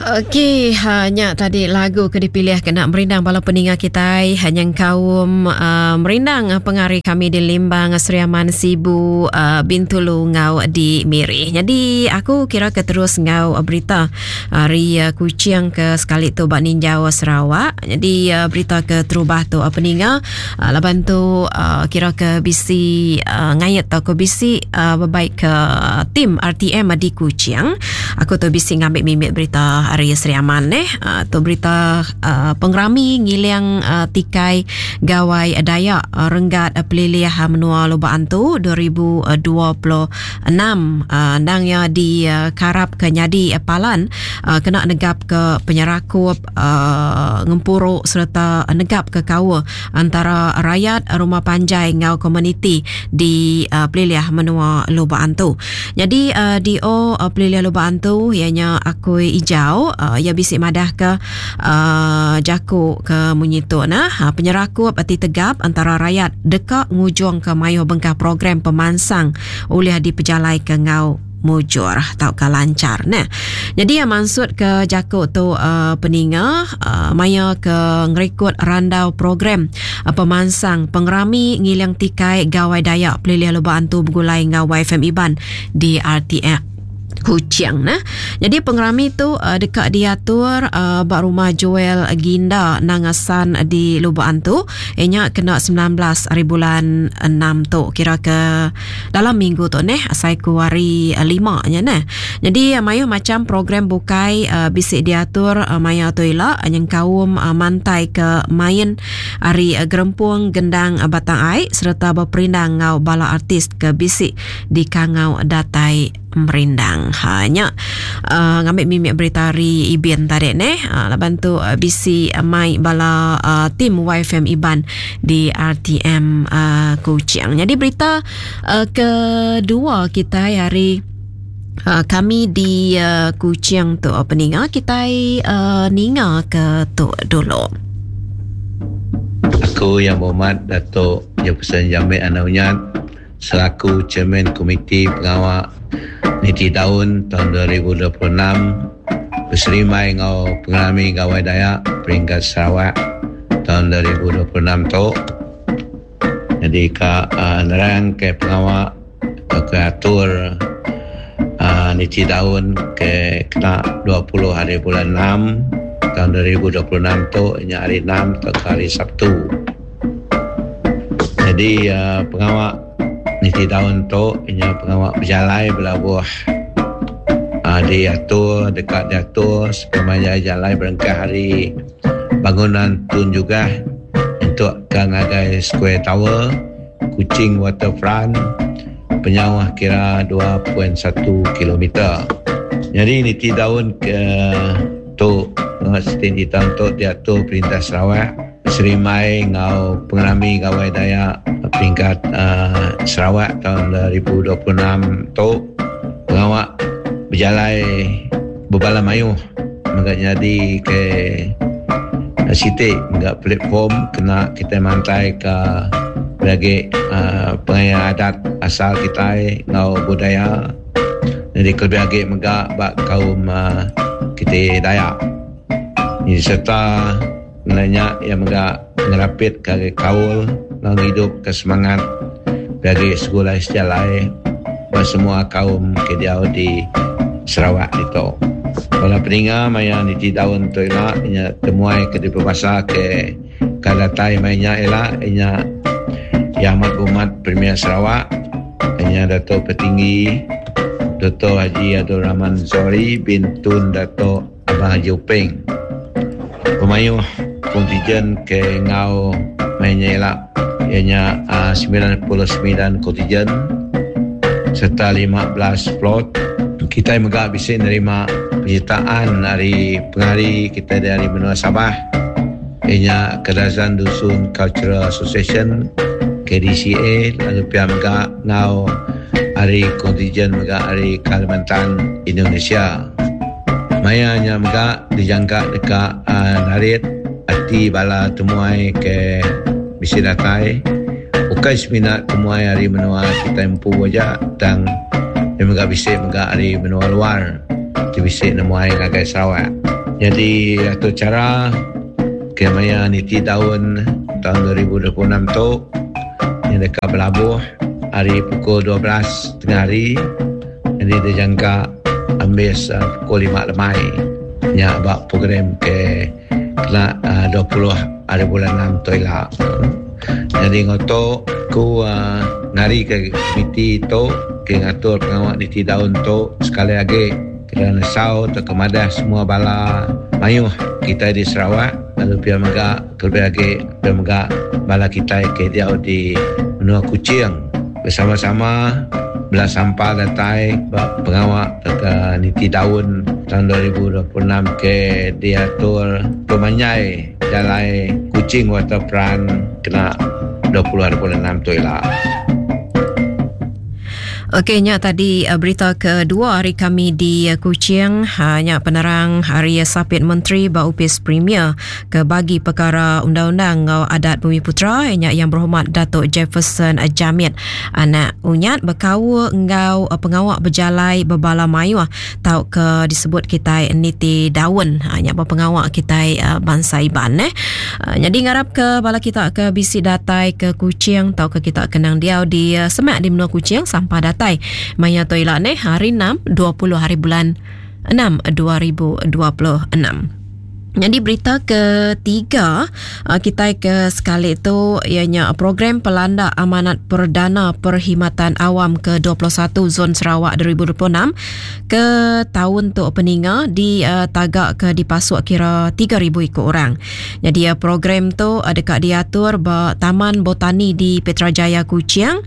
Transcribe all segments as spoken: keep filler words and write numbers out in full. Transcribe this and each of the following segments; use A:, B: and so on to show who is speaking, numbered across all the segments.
A: Okey, ha, nya tadi lagu ke dipilih kena merindang bala peninga kitai hanya kaum uh, merindang pengari kami di Limbang, Sri Aman, Sibu, uh, Bintulu ngau di Miri. Jadi aku kira ke terus ngau berita hari uh, Kuching ke sekali tu bak ninjau Sarawak. Jadi uh, berita ke terubah tu uh, peninga uh, laban tu uh, kira ke bisi uh, ngayat atau ke bisi uh, berbaik ke tim R T M di Kuching. Aku tu bisi ngambil mimit berita hari Sri Aman eh. Uh, tu berita uh, pengerami ngiling uh, tikai Gawai Dayak uh, Renggat uh, Pelilih uh, Menua Lubok Antu dua ribu dua puluh enam uh, nang ya di uh, karap ke nyadi uh, palan uh, kena negap ke penyerakup uh, ngempuru serta negap ke kawa antara rakyat rumah panjai ngau komuniti di uh, Pelilih Menua Lubok Antu. Jadi uh, D O uh, Pelilih Lubok Antu ianya Akui Ijau uh, ia bisi madah ke uh, jaku ke munyi tu nah uh, penyerakup ati tegap antara rakyat deka ngujung ke mayu bengkah program pemansang oleh di pejalai ke ngau mujur atau ke lancar nah. Jadi yang maksud ke jaku tu uh, peninga uh, maya ke ngerikut randau program uh, pemansang pengerami ngiling tikai Gawai Dayak Pelilih Lubok Antu bergulai ngau Y F M Iban di R T M Kuching nah. Jadi pengerami tu uh, dekat diatur uh, bak rumah Joel Ginda Nangasan di Lubok Antu. Ianya kena sembilan belas hari bulan enam tu, kira ke dalam minggu tu neh, asai ku hari uh, lima nya neh. Jadi uh, mayu macam program bukai uh, bisi diatur uh, maya tu ila yang kaum uh, mantai ke main hari uh, gerempung gendang uh, Batang Ai serta berperindang ngau bala artis ke bisi di Kangau Datai merindang. Ha nya uh, ngambil mimik berita hari Ibin tadi neh. Uh, laban tu uh, bisi uh, mai bala uh, tim Y F M Iban di R T M uh, Kuching. Jadi berita uh, kedua kita hari Uh, kami di uh, Kuching tu peninga kita uh, ninga ke tu dulu.
B: Aku, Yang Berhormat Datuk Jefferson Jamit Anak Unyat, selaku Chairman Komiti Pengawal Niti Daun tahun dua ribu dua puluh enam berserimai ngau pengalami Gawai Dayak peringkat Sarawak tahun dua ribu dua puluh enam tu. Jadi ke uh, nerang ke pengawal ke atur uh, Niti Daun ke kena dua puluh hari bulan enam tahun dua ribu dua puluh enam tu, nya hari enam atau hari Sabtu. Jadi uh, pengawal Niti Daun tu nya pengawal berjalai berlabuh uh, diatur dekat diatur sepanjang jalan berengkah hari bangunan Tun Jugah untuk ke ngagai Square Tower, Kuching Waterfront, penyawah kira dua perpuluhan satu kilometer. Jadi niti daun ke tu setinggi tahun tu diatur Perintah Sarawak serimai ngau pengerami Gawai Dayak peringkat uh, Sarawak tahun dua ribu dua puluh enam tu. Pengawak berjalai berbala mayuh menggak jadi ke sitik menggak platform kena kita mantai ke lagi uh, pengaya adat asal kita ngau budaya, jadi lebih lagi megak bak kaum uh, kita Dayak ini serta nanya yang megak ngerapit ke kaul ngau hidup ke semangat bagi sekolah sejalai buat semua kaum ke di Sarawak itu. Kalau peninga maya niti daun tu ila inya temuai ke di perbasa ke kadatai mainya ila inya Yang Amat Berhormat Premier Sarawak, inya Dato' Petinggi Dato' Haji Abdul Rahman Zohari bin Tun Dato' Abang Haji Openg. Pemayuh kontingen ke ngau mainya ila ianya uh, sembilan puluh sembilan kontingen serta lima belas float. Kita juga bisa nerima penyertaan dari pengari kita dari benua Sabah, ianya Kadazan Dusun Cultural Association, K D C A, lalu pihak megak ngau hari kontingen megak hari Kalimantan, Indonesia. Mayanya megak dijangka dekat uh, narit ati bala temuai ke bisi datai bukan semina temuai hari menua kita empu aja tang dia megak bisi megak hari menua luar ti bisi nemuai ngagai Sarawak. Jadi atur cara ke maya niti daun tahun dua ribu dua puluh enam tu yang dekat berlabuh hari pukul dua belas tengah hari. Jadi dijangka ambis, uh, pukul lima lemai. Nya bak program ke kena, uh, dua puluh hari bulan enam tu ila. Jadi ngoto ku, uh, ngari ke komiti tu ke ngatur pengawak niti daun tu sekali lagi kita nesau atau kemadah semua bala mayuh kita di Sarawak lalu pia mega kelebih lagi pia mega bala kita ke dia di menua Kuching bersama-sama bela sampah datai pengawak ke niti daun tahun dua ribu dua puluh enam ke diatur pemanjai jalai Kuching Waterfront kena dua puluh hari bulan enam tu ila.
A: Okey, nya tadi berita kedua hari kami di Kuching. Ha, nya penerang hari Sapit Menteri ba Upis Premier ke bagi perkara undang-undang ngau adat Bumi Putera nya yang berhormat Datuk Jefferson Jamit. Anak unyat berkaul ngau pengawak berjalai berbala mayuh tau ke disebut kita niti daun. Ha, nya pengawak kita bangsa Iban eh. Ha, jadi ngarap ke bala kita ke bisi datai ke Kuching tau ke kita kenang diau di semak di menua Kuching sampai datai maya tu ila ni hari enam dua puluh hari bulan enam dua ribu dua puluh enam. Jadi berita ketiga kita ke sekali tu ianya program Pelanda Amanat Perdana Perkhidmatan Awam ke dua puluh satu Zon Sarawak dua ribu dua puluh enam ke tahun tu peninga di uh, tagak ke dipasuk kira tiga ribu ikut orang. Jadi uh, program tu uh, dekat diatur ba Taman Botani di Petrajaya Kuching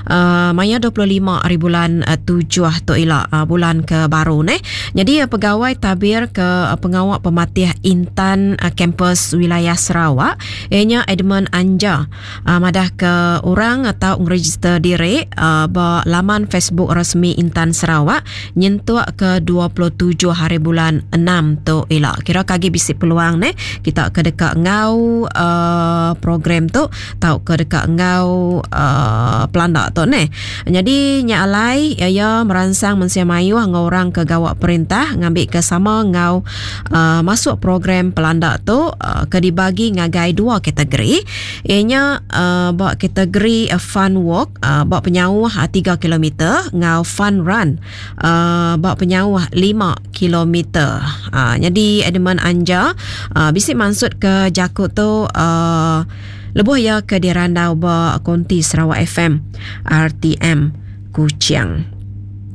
A: uh, maya dua puluh lima hari bulan uh, tujuh tu ila uh, bulan ke baru ni. Jadi uh, pegawai tabir ke uh, pengawak pematih Intan uh, Kampus Wilayah Sarawak ianya Edmund Anja uh, madah ke orang atau ngeregister diri uh, ba laman Facebook resmi Intan Sarawak nyentuk ke dua puluh tujuh hari bulan enam tu ila. Kira kagi bisi peluang ne kita ke dekat ngau uh, program tu tau ke dekat ngau uh, pelanda tu ne. Jadi nya alai ia merangsang mensia mayuh ngau orang ke gawak perintah ngambil ke sama ngau uh, masuk program pelanda tu uh, ke dibagi ngagai dua kategori. Ianya uh, bak kategori uh, fun walk uh, bak penyauh uh, tiga kilometer ngau fun run uh, bak penyauh lima kilometer. Uh, jadi Edmund Anja uh, bisik maksud ke jakut tu uh, lebuh ya ke dirandau bak konti Sarawak F M R T M Kuching.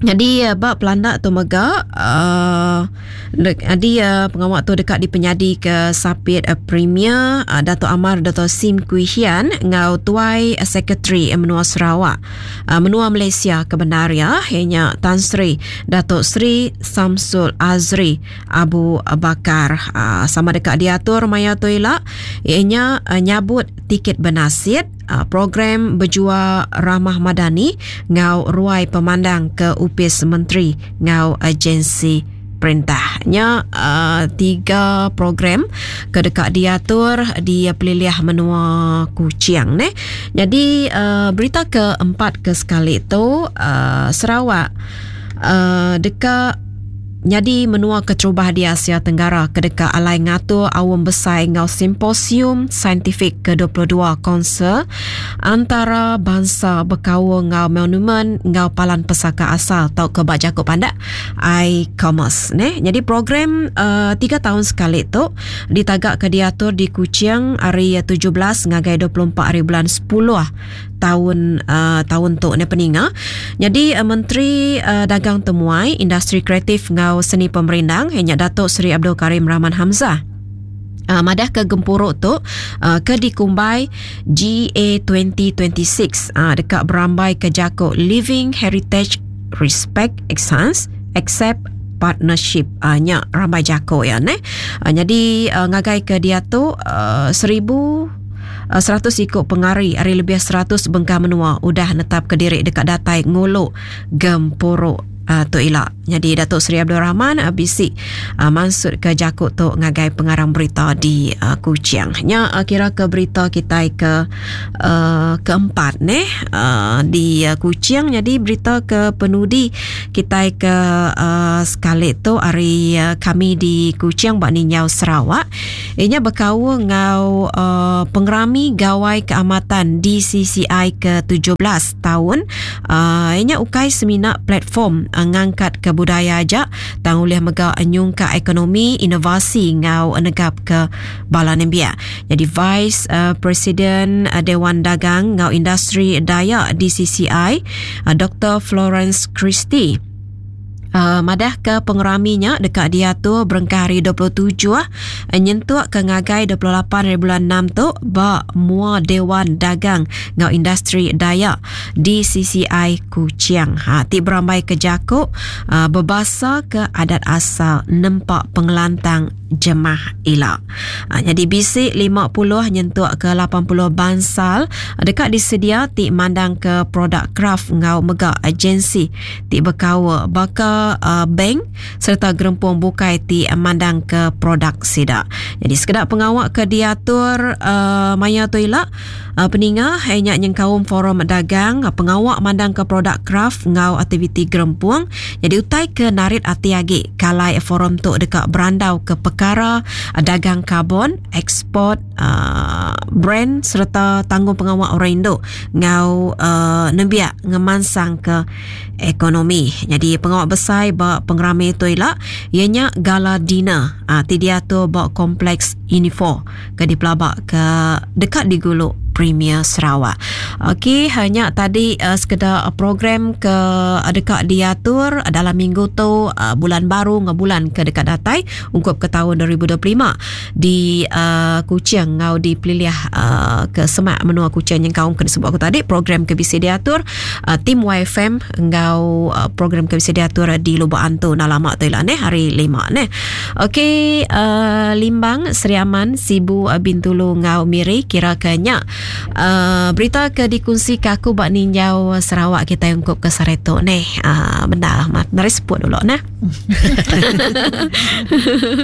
A: Jadi bab pelanda tu mega uh, jadi uh, pengawak tu dekat dipenyadi ke Sapit uh, Premier uh, Dato' Amar Dato' Sim Kui Hian ngau tuai uh, Sekretari uh, Menua Sarawak uh, Menua Malaysia kebenaria hanya Tan Sri Dato' Sri Samsul Azri Abu Bakar uh, sama dekat diatur maya tu ila ianya uh, nyabut tiket benasit uh, program berjua Ramah Madani ngau ruai pemandang ke Upis Menteri ngau agensi perintahnya uh, tiga program ke dekat diatur di Peliliah Menua Kuching ne. Jadi uh, berita keempat ke sekali tu uh, Sarawak uh, dekat jadi menua keterubah di Asia Tenggara kedeka alai ngatur awam besar ngau simposium saintifik ke dua puluh dua konser antara bangsa berkaul ngau monumen ngau palan pesaka asal tau ke bak jakut pandak i-commerce ne. Jadi program uh, tiga tahun sekali tu ditagak ke diatur di Kuching hari tujuh belas ngagai dua puluh empat hari bulan sepuluh tahun uh, tahun tu ne peninga. Jadi uh, Menteri uh, Dagang Temuai Industri Kreatif ngau Seni Pemerindang hanya Datuk Seri Abdul Karim Rahman Hamzah. Uh, madah ke gempuruk tu uh, ke dikumbai G A twenty twenty-six uh, dekat berambai ke jakuk Living Heritage Respect Excellence Accept Partnership uh, nya rambai jakuk ya ne. Uh, jadi uh, ngagai ke dia tu uh, seribu seratus ikut pengari hari lebih seratus bengkah menua udah netap ke diri dekat datai nguluk gempuruk uh, tu ila. Jadi Datuk Seri Abdul Rahman uh, bisi uh, mansut ke jaku tu ngagai pengarang berita di uh, Kuching. Nya uh, kira ke berita kita ke uh, keempat neh uh, di uh, Kuching. Jadi berita ke penudi kita ke uh, sekali tu hari uh, kami di Kuching bak Ninjau Sarawak. Inya berkaul ngau uh, pengerami Gawai Keamatan D C C I ke tujuh belas tahun. Uh, inya ukai semina platform uh, ngangkat ke budaya aja tang ulih mega nyungka ekonomi inovasi ngau negap ke bala nembia. Jadi Vice uh, President uh, Dewan Dagang ngau Industri Dayak D C C I uh, Doktor Florence Christie Uh, madah ke pengeraminya dekat diatur berengkah hari dua puluh tujuh uh, nyentuk ke ngagai dua puluh lapan hari bulan enam tu ba mua Dewan Dagang ngau Industri Dayak D C C I Kuching. Ha ti berambai ke jakuk uh, berbasa ke adat asal nempak pengelantang jemah ila. Ha, jadi bisik lima puluh nyentuk ke lapan puluh bansal dekat disedia ti mandang ke produk craft ngau mega agensi ti berkawa baka Uh, bank serta gerempung bukai ti mandang ke produk sida. Jadi sekedar pengawak ke diatur uh, maya tu ila uh, peninga hanya nyengkaum forum dagang uh, pengawak mandang ke produk craft ngau aktiviti gerempung. Jadi utai ke narit ati agi kalai forum tu dekat berandau ke perkara uh, dagang karbon, ekspor uh, brand serta tanggung pengawak orang Indo ngau uh, nembiak ngemansang ke ekonomi. Jadi pengawak besar ba pengerami tu ila ianya gala dinner ah ti diatur ba kompleks Unifor ke dipelabak ke dekat di Guluk Premier Sarawak. Okey, hanya tadi uh, sekedar program ke uh, dekat diatur dalam minggu tu uh, bulan baru ngah bulan ke dekat datai ungkup ke tahun dua ribu dua puluh lima di uh, Kuching ngau di peliliah uh, ke Semak menua Kuching yang kaum ke disebut aku tadi program ke bisa diatur uh, tim Y F M ngau uh, program ke bisa diatur di Lubuk Antu nah lama tu lah neh hari lima neh. Okey, uh, Limbang, Seri Aman, Sibu, uh, Bintulu ngau Miri kira kenya Uh, berita ke dikongsi ke aku bak ninjau Sarawak kita ungkup ke Sareto ni. Uh, benda mat dari sebut dulu nah.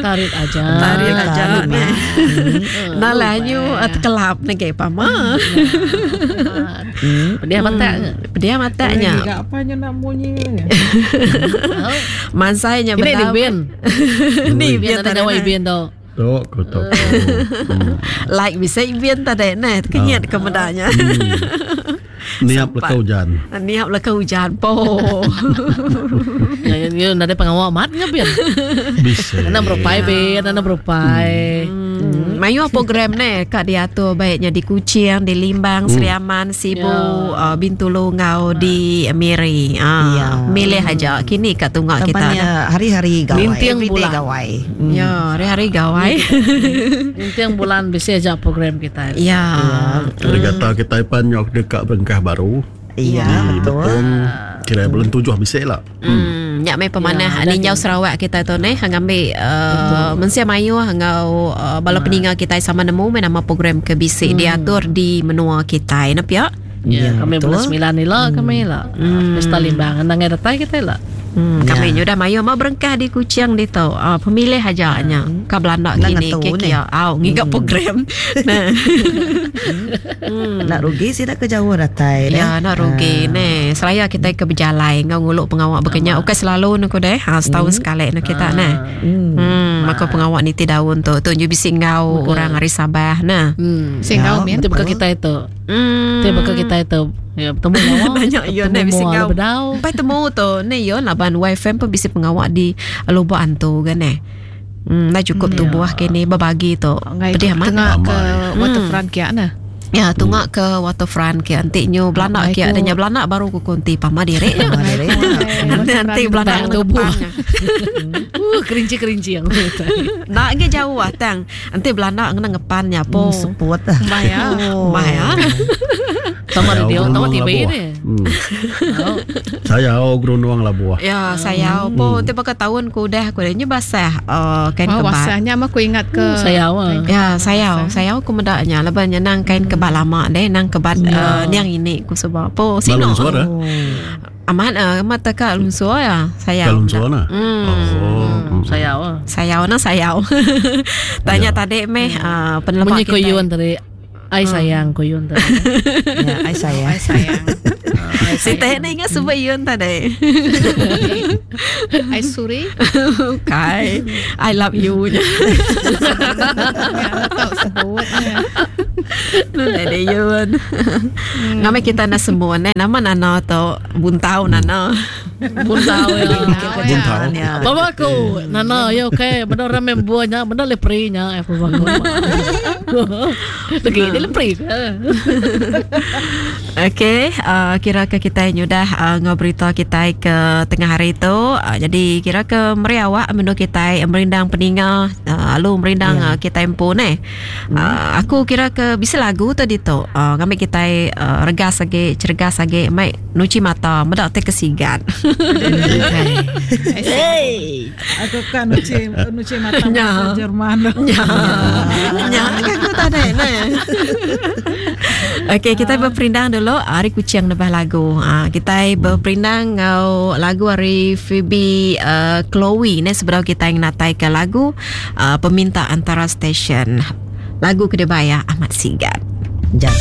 C: Tarik aja.
A: Tarik aja ni. Nah lah nyu terkelap ni ke pama.
C: Pedih mata.
A: Pedih matanya.
D: Enggak apa nya nak bunyi.
A: Mansainya
C: benda. Ini bin.
A: Ni bin
C: tadi awak bin tu.
E: Tok ko tok.
A: Like bisa ibin tadi nah kenyat ke medanya.
E: Niap leka hujan.
A: Niap leka hujan po.
C: Ya ya nade pengawak mat ngabin.
E: Bisa.
C: Ana berupai bin, ana berupai.
A: Mayu program ne kak diatur baiknya di Kuching, di Limbang, Seri Aman, Sibu, uh, Bintulu ngau di Miri. Ah,
F: ya.
A: Milih aja kini kat tunggak kita.
F: Hari-hari gawai.
C: Nintiang bulan
F: gawai.
A: Mm. Ya, hari-hari gawai.
C: Nintiang bulan bisa aja program kita.
A: Ya.
E: Ada kata kita pan nyok dekat berengkah baru.
F: Iya, betul.
E: Betul. Kira bulan tujuh bisa lah.
A: Hmm. Nyak mai pemanah ya, ninjau Sarawak kita tu ni hang ambil uh, mensia mayu hangau uh, bala peninga kita sama nemu mai nama program ke bisik hmm. diatur di menua kita nap ya.
C: Ya, ya kami bulan sembilan ni lah kami lah. Hmm. Pesta Limbang nang datai kita lah.
A: Hmm, kami ya. Dah mayu mau berengkah di Kuching di tu. Uh, pemilih aja nya. Ka Belanda kini ke kia. Au ngigap hmm. program. Nah.
F: Hmm. Nak rugi sih nak ke jauh datai.
A: Ya, nak rugi ne. Seraya kita ke berjalai ngau nguluk pengawak berkenyak. Ukai selalu nuku deh. Ha setahun sekali nu kita nah. Hmm. hmm. Maka pengawak ni ti daun tu. Tu ju bisi ngau orang hari Sabah nah.
C: Hmm. Sing ngau mi tu buka kita itu. Hmm. Tu buka kita itu. Ya, bertemu ngawak.
A: Banyak yo ne bisi ngau. Pai temu tu ne yo laban Y F M pun bisi pengawak di Lubuk Antu kan eh. Hmm, dah cukup hmm. tubuh kini berbagi tu. Pedih amat.
D: Tengah ke waterfront kia nah.
A: Ya, tungak ke waterfront kia antik nyu belanak kia adanya belanak baru ku konti pama diri. Nanti nanti belanak
C: tubuh. Uh, kerinci-kerinci yang.
A: Nak ge jauh ah tang. Nanti belanak ngena ngepannya po.
F: Seput ah.
D: Maya.
A: Maya.
C: Sama radio, sama T V ni.
E: Saya gerundung lah buah.
A: Ya, saya po nanti pakai tahun ku dah ku dah basah kain kebat.
D: Basahnya mah ku ingat ke.
C: Saya.
A: Ya, saya, saya ku medaknya leban nang kain kebat lama deh, nang kebat niang ini ku sebab po sino. Amat uh, amat tak ka lunsur ya. Sayau.
E: Ka lunsur nah.
A: Hmm.
E: Oh.
C: Sayau ah.
A: Sayau na sayau. Tanya tadi meh uh, penelema
C: Munyi
A: kita.
C: koyun tadi. Ai sayang koyun tadi.
F: Ya, ai sayang.
D: Ai sayang.
A: Si teh ni ingat sebut yun tadi.
D: Ai suri.
A: Okay. I love you.
D: Ya, tahu sebutnya.
A: Nuna dia yun. Ngamai kita nak semua ne. Nama nana tu buntau nana.
C: Buntau ya.
E: Buntau.
F: Ya.
C: Bapa aku, Nana, ya okey, benda orang membuahnya, benda leprinya, eh bapa aku. Lagi dia lepri.
A: Okey, uh, kira ke kita nyudah uh, ngobrol kita ke tengah hari tu. Uh, jadi kira ke meri awak menu kita merindang peninga, uh, lalu merindang yeah. uh, kita empu ne. Uh, aku kira ke bisa lagu tadi tu. Uh, kami kita uh, regas lagi, cergas lagi, mai nuci mata, medak te kesigan.
F: Hey.
G: Aku kan nuci nuci mata
A: Ya.
G: bahasa Jerman.
A: Ya. Ya, kan aku tak ada ne. Okey, kita berperindang dulu hari kucing nebah lagu. Ha, kita berperindang ngau lagu hari Phoebe uh, Chloe ne sebelum kita yang natai ke lagu uh, peminta antara stesen. Lagu Kedebaya Ahmad Sigat.
F: Jangan.